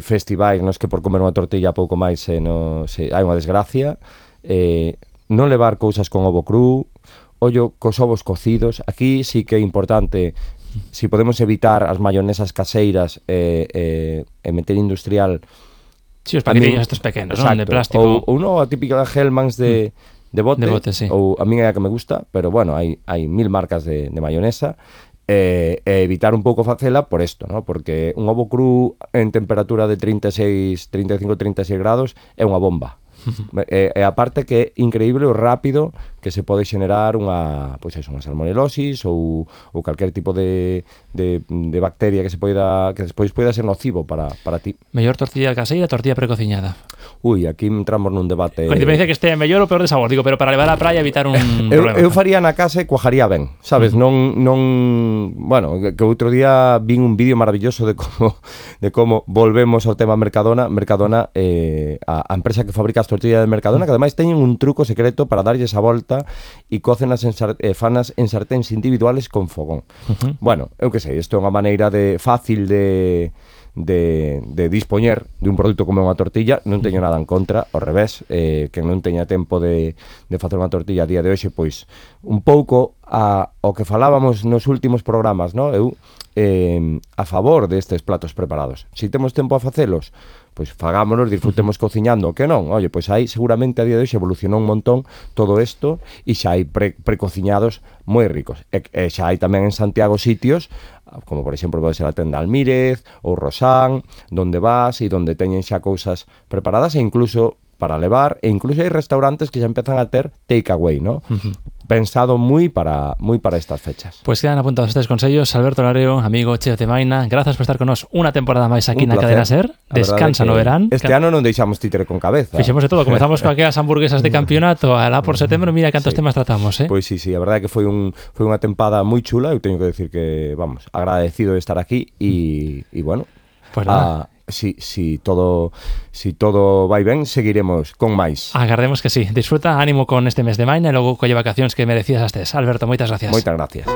festivais nos que por comer unha tortilla pouco máis hai unha desgracia, non levar cousas con ovo cru, ollo cos ovos cocidos. Aquí sí que é importante, si podemos evitar as mayonesas caseiras e meter industrial. Sí, os paquetillos estos pequenos, non? De plástico. Ou non, a típica Hellmann's de bote, sí. Ou a mí é a que me gusta, pero bueno, hai 1000 marcas de mayonesa, e evitar un pouco facela por isto, ¿no? Porque un ovo cru en temperatura de 35-36 grados é unha bomba. E aparte que é increíble o rápido que se pode xenerar unha salmonelosis ou calquer tipo de bacteria que despois poida ser nocivo para ti. Mellor tortilla caseira, tortilla precociñada. Ui, aquí entramos nun debate. Con independencia que este mellor ou peor de sabor, digo, pero para levar á praia evitar un problema. Eu faría na casa e cuajaría ben, sabes? Non, bueno, que outro día vin un vídeo maravilloso de como volvemos ao tema Mercadona, a empresa que fabrica as tortillas de Mercadona, que ademais teñen un truco secreto para darlle esa volta e cócenas fanas en sarténs individuales con fogón. Bueno, eu que sei, isto é unha maneira fácil de dispoñer de un produto como unha tortilla. Non teño nada en contra, ao revés, que non teña tempo de facer unha tortilla a día de hoxe, pois un pouco ao que falábamos nos últimos programas, no? Eu a favor destes platos preparados. Si temos tempo a facelos, pois fagámonos, disfrutemos cociñando, que non? Oye, pois aí seguramente a día de hoxe evolucionou un montón todo isto e xa hai precociñados moi ricos. E xa hai tamén en Santiago sitios, como por exemplo pode ser a tenda Almírez ou Rosán, donde vas e donde teñen xa cousas preparadas e incluso para levar, e incluso hai restaurantes que xa empezan a ter takeaway, ¿no? Pensado moi para estas fechas. Pues quedan apuntados estes consellos. Alberto Lareo, amigo, chef de Maina, grazas por estar con nos unha temporada máis aquí na Cadena Ser. Descansa no verán. Este ano non deixamos títere con cabeza. Fixemos de todo, comezamos con aquelas hamburguesas de campeonato, alá por setembro, mira cantos temas tratamos, Pois sí, a verdade é que foi unha tempada moi chula. Eu teño que decir que, vamos, agradecido de estar aquí e bueno, pues nada. Si todo vai ben, seguiremos con máis. Agardemos que sí. Disfruta, ánimo con este mes de Maina e logo colle vacacións que merecías astes. Alberto, moitas gracias. Moitas gracias.